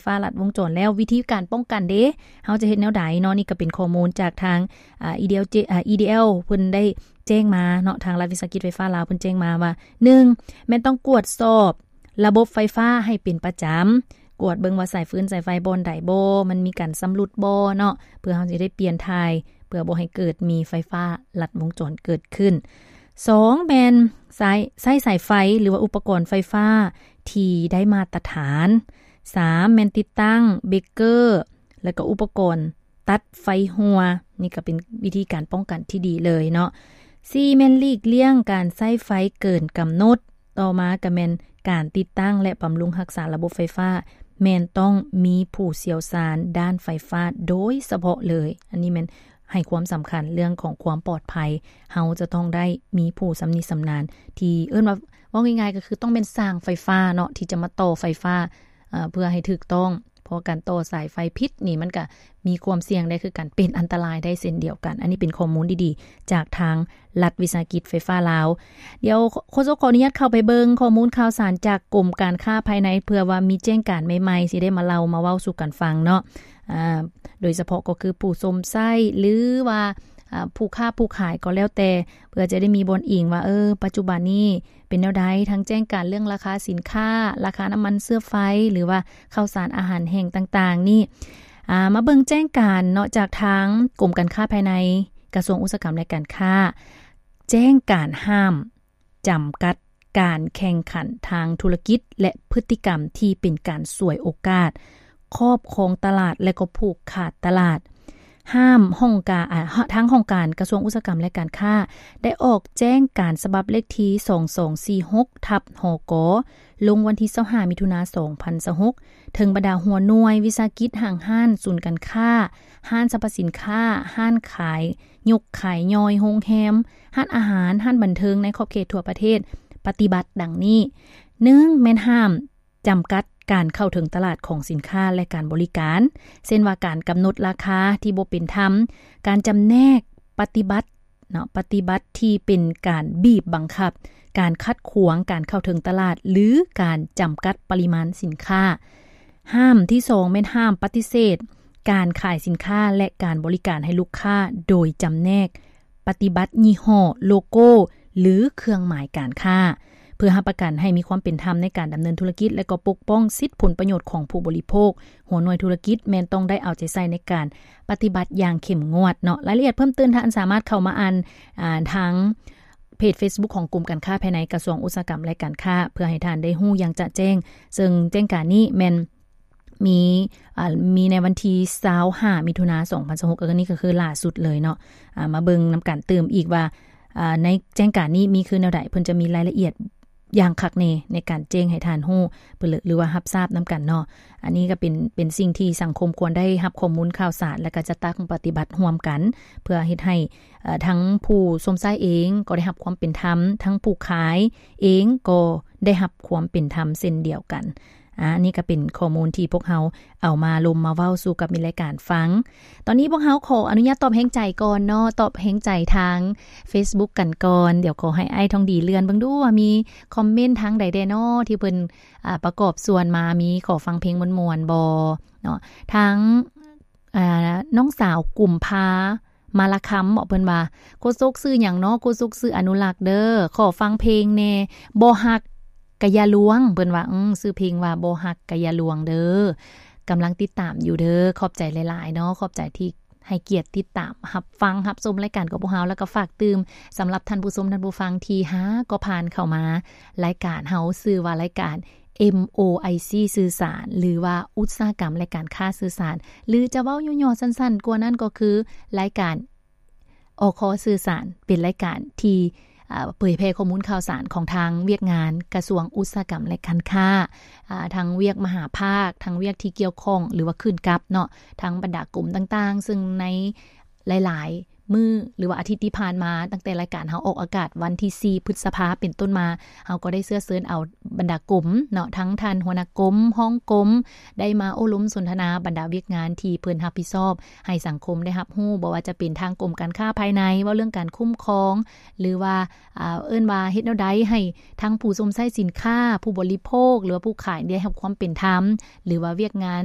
ຟ້າລັດວົງຈອນແລ້ວ ວິທີການປ້ອງກັນເດ ເຮົາຈະເຮັດແນວໃດເນາະ? ນີ້ກໍເປັນຂໍ້ມູນຈາກທາງ ອາ EDL ເຈ ອາ EDL ເພິ່ນໄດ້ແຈ້ງມາເນາະ, ທາງລັດວິສາຫະກິດໄຟຟ້າລາວເພິ່ນແຈ້ງມາວ່າ ໜຶ່ງ ແມ່ນຕ້ອງກວດສອບລະບົບໄຟຟ້າໃຫ້ເປັນປະຈຳ, ກວດເບິ່ງວ່າສາຍຟືນສາຍໄຟບ່ອນໃດບໍ່ ມັນມີການຊຳລຸດບໍ່ເນາະ ເພື່ອເຮົາຊິໄດ້ປ່ຽນຖ່າຍ ເພື່ອບໍ່ໃຫ້ເກີດມີໄຟຟ້າລັດວົງຈອນເກີດຂຶ້ນ. ສອງ ແມ່ນສາຍ ໃຊ້ສາຍໄຟ ຫຼືວ່າອຸປະກອນໄຟຟ້າທີ່ໄດ້ມາດຕະຖານ. ສາມ ແມ່ນຕິດຕັ້ງເບຣກເກີ ແລະກໍອຸປະກອນຕັດໄຟຮົ່ວ, ນີ້ກໍເປັນວິທີການປ້ອງກັນທີ່ດີເລີຍເນາະ. ສີ່ ແມ່ນຫຼີກລ່ຽງການໃຊ້ໄຟເກີນກຳນົດ. ຕໍ່ມາກໍແມ່ນການຕິດຕັ້ງ ແລະ ບຳລຸງຮັກສາລະບົບໄຟຟ້າ ແມ່ນຕ້ອງມີຜູ້ຊ່ຽວຊານດ້ານໄຟຟ້າໂດຍສະເພາະເລີຍ. ອັນນີ້ແມ່ນໃຫ້ຄວາມສຳຄັນເລື່ອງຂອງຄວາມປອດໄພ, ເຮົາຈະຕ້ອງໄດ້ມີຜູ້ຊຳນິຊຳນານ ທີ່ເອີ້ນວ່າ ເວົ້າງ່າຍໆກໍຄືຕ້ອງແມ່ນຊ່າງໄຟຟ້າເນາະ ທີ່ຈະມາຕໍ່ໄຟຟ້າ ເອີ ເພື່ອໃຫ້ຖືກຕ້ອງ, ເພາະວ່າການຕໍ່ສາຍໄຟຜິດນີ້ ມັນກະມີຄວາມສ່ຽງໄດ້ຄືກັນ ເປັນອັນຕະລາຍໄດ້ເຊັ່ນດຽວກັນ. ອັນນີ້ເປັນຂໍ້ມູນດີໆ ຈາກທາງລັດວິສາຫະກິດໄຟຟ້າລາວ. ດຽວໂຄສົກຂໍອະນຸຍາດເຂົ້າໄປເບິ່ງຂໍ້ມູນຂ່າວສານຈາກກົມການຄ້າພາຍໃນ ເພື່ອວ່າມີແຈ້ງການໃໝ່ໆ ຊິໄດ້ມາເລົ່າມາເວົ້າສູ່ກັນຟັງເນາະ. ອາ ໂດຍສະເພາະກໍຄືຜູ້ຊົມໃຊ້ ຫຼືວ່າ ອາ ຜູ້ຄ້າຜູ້ຂາຍກໍແລ້ວແຕ່ ເພື່ອຈະໄດ້ມີບ່ອນອີງວ່າ ເອີ ປັດຈຸບັນນີ້ເປັນແນວໃດ, ທັງແຈ້ງການເລື່ອງລາຄາສິນຄ້າ, ລາຄານ້ຳມັນເຊື້ອໄຟ ຫຼືວ່າເຂົ້າສານອາຫານແຫ້ງຕ່າງໆນີ້. ອາ ມາເບິ່ງແຈ້ງການເນາະ ຈາກທາງກົມການຄ້າພາຍໃນ ກະຊວງອຸດສາຫະກຳ ແລະ ການຄ້າ, ແຈ້ງການຫ້າມ ຈຳກັດການແຂ່ງຂັນທາງທຸລະກິດ ແລະ ພຶດຕິກຳທີ່ເປັນການສວຍໂອກາດ, ຄອບຄອງຕະຫຼາດ ແລະ ກໍຜູກຂາດຕະຫຼາດ. ຫ້າມຫ້ອງການ ອາ ທາງຫ້ອງການກະຊວງອຸດສາຫະກຳ ແລະ ການຄ້າ ໄດ້ອອກແຈ້ງການສະບັບເລກທີ ສອງສອງສີ່ຫົກ ທັບ ຫກ ລົງວັນທີ ຊາວຫ້າ ມິຖຸນາ ສອງພັນຊາວຫົກ ເຖິງບັນດາຫົວໜ່ວຍ, ວິສາຫະກິດ, ຫ້າງຮ້ານ, ສູນການຄ້າ, ຮ້ານສັບພະສິນຄ້າ, ຮ້ານຂາຍ ຍົກຂາຍຍ່ອຍ, ໂຮງແຮມ, ຮ້ານອາຫານ, ຮ້ານບັນເທີງໃນຂອບເຂດທົ່ວປະເທດ ປະຕິບັດດັ່ງນີ້. ໜຶ່ງ ແມ່ນຫ້າມຈຳກັດການເຂົ້າເຖິງຕະຫຼາດຂອງສິນຄ້າ ແລະ ການບໍລິການ, ເຊັ່ນວ່າ ການກຳນົດລາຄາທີ່ບໍ່ເປັນທຳ, ການຈຳແນກປະຕິບັດເນາະ, ປະຕິບັດທີ່ເປັນການບີບບັງຄັບ, ການຂັດຂວາງການເຂົ້າເຖິງຕະຫຼາດ ຫຼື ການຈຳກັດປະລິມານສິນຄ້າ. ຫ້າມທີສອງ ແມ່ນຫ້າມປະຕິເສດ ການຂາຍສິນຄ້າ ແລະ ການບໍລິການໃຫ້ລູກຄ້າໂດຍຈຳແນກປະຕິບັດຍີ່ຫໍ້, ໂລໂກ້ ຫຼື ເຄື່ອງໝາຍການຄ້າ. ເພື່ອຮັບປະກັນໃຫ້ມີຄວາມເປັນທຳໃນການດຳເນີນທຸລະກິດ ແລະ ກໍປົກປ້ອງສິດຜົນປະໂຫຍດຂອງຜູ້ບໍລິໂພກ, ຫົວໜ່ວຍທຸລະກິດແມ່ນຕ້ອງໄດ້ເອົາໃຈໃສ່ໃນການປະຕິບັດຢ່າງເຂັ້ມງວດເນາະ. ລາຍລະອຽດເພີ່ມຕື່ມທ່ານສາມາດເຂົ້າມາອ່ານ ອາ ທາງເພຈເຟສບຸກຂອງກົມການຄ້າພາຍໃນ ກະຊວງອຸດສາຫະກຳ ແລະ ການຄ້າ ເພື່ອໃຫ້ທ່ານໄດ້ຮູ້ຢ່າງຈະແຈ້ງ. ເຊິ່ງແຈ້ງການນີ້ແມ່ນ ມີ ອ່າ ມີໃນວັນທີ ຊາວຫ້າ ມິຖຸນາ ສອງພັນຊາວຫົກ ອັນນີ້ກໍຄືລ່າສຸດເລີຍເນາະ. ອ່າ ມາເບິ່ງນຳກັນຕື່ມອີກວ່າ ອ່າ ໃນແຈ້ງການນີ້ມີຄືແນວໃດ, ເພິ່ນຈະມີລາຍລະອຽດຢ່າງຄັກແນ່ໃນການແຈ້ງໃຫ້ທ່ານຮູ້ ເພື່ອ ຫຼືວ່າຮັບຊາບນຳກັນເນາະ. ອັນນີ້ກໍເປັນ ເປັນສິ່ງທີ່ສັງຄົມຄວນໄດ້ຮັບຂໍ້ມູນຂ່າວສານ ແລະ ກໍຈັດຕັ້ງປະຕິບັດຮ່ວມກັນ ເພື່ອເຮັດໃຫ້ ເອີ ທັງຜູ້ຊົມໃຊ້ເອງກໍໄດ້ຮັບຄວາມເປັນທຳ, ທັງຜູ້ຂາຍເອງກໍໄດ້ຮັບຄວາມເປັນທຳເຊັ່ນດຽວກັນ. ອາ ອັນນີ້ກໍເປັນຂໍ້ມູນທີ່ພວກເຮົາເອົາມາລົມມາເວົ້າສູ່ກັບມິດລາຍການຟັງ. ຕອນນີ້ພວກເຮົາຂໍອະນຸຍາດຕອບແຮງໃຈກ່ອນເນາະ, ຕອບແຮງໃຈທາງເຟສບຸກກັນກ່ອນ. ດຽວຂໍໃຫ້ອ້າຍທອງດີເລື່ອນເບິ່ງດູວ່າມີຄອມເມັນທາງໃດແດ່ເນາະ ທີ່ເພິ່ນ ອາ ປະກອບສ່ວນມາ, ມີຂໍຟັງເພງມ່ວນໆບໍ່ເນາະ. ທາງ ອາ ນ້ອງສາວກຸມພາ ມາລະຄຳເບາະ ເພິ່ນວ່າ ໂຄສົກຊື່ຫຍັງເນາະ? ໂຄສົກຊື່ອະນຸລັກເດີ ຂໍຟັງເພງແດ່ ບໍ່ຮັກກະຢ່າລວງ ເພິ່ນວ່າ ອື ຊື່ເພງວ່າ ບໍ່ຮັກກະຢ່າລວງເດີ. ກຳລັງຕິດຕາມຢູ່ເດີ. ຂອບໃຈຫຼາຍໆເນາະ, ຂອບໃຈທີ່ໃຫ້ກຽດຕິດຕາມຮັບຟັງຮັບຊົມລາຍການຂອງພວກເຮົາ ແລ້ວກໍຝາກຕື່ມສຳລັບທ່ານຜູ້ຊົມທ່ານຜູ້ຟັງທີ່ຫາກໍຜ່ານເຂົ້າມາ ລາຍການເຮົາຊື່ວ່າລາຍການ MOIC ສື່ສານ ຫຼືວ່າອຸດສາຫະກຳ ແລະ ການຄ້າສື່ສານ ຫຼືຈະເວົ້າຫຍໍ້ໆສັ້ນໆກວ່ານັ້ນກໍຄືລາຍການ ອຄ ສື່ສານ ເປັນລາຍການທີ່ ເອີ ເຜີຍແຜ່ຂໍ້ມູນຂ່າວສານຂອງທາງວຽກງານກະຊວງອຸດສາຫະກຳ ແລະ ການຄ້າ ອາ ທັງວຽກມະຫາພາກ ທັງວຽກທີ່ກ່ຽວຂ້ອງ ຫຼືວ່າຂຶ້ນກັບເນາະ ທັງບັນດາກົມຕ່າງໆ ເຊິ່ງໃນ ຫຼາຍໆ ມື້ ຫຼືວ່າອາທິດທີ່ຜ່ານມາ ຕັ້ງແຕ່ລາຍການເຮົາອອກອາກາດວັນທີສີ່ ພຶດສະພາເປັນຕົ້ນມາ ເຮົາກໍໄດ້ເຊື້ອເຊີນເອົາບັນດາກົມເນາະ ທັງທ່ານຫົວໜ້າກົມ, ຮອງກົມ ໄດ້ມາໂອ້ລົມສົນທະນາບັນດາວຽກງານທີ່ເພິ່ນຮັບຜິດຊອບ ໃຫ້ສັງຄົມໄດ້ຮັບຮູ້ ບໍ່ວ່າຈະເປັນທາງກົມການຄ້າພາຍໃນ ເວົ້າເລື່ອງການຄຸ້ມຄອງ ຫຼືວ່າ ອ່າ ເອີ້ນວ່າເຮັດແນວໃດໃຫ້ທັງຜູ້ຊົມໃຊ້ສິນຄ້າ, ຜູ້ບໍລິໂພກ ຫຼືວ່າຜູ້ຂາຍໄດ້ຮັບຄວາມເປັນທຳ ຫຼືວ່າວຽກງານ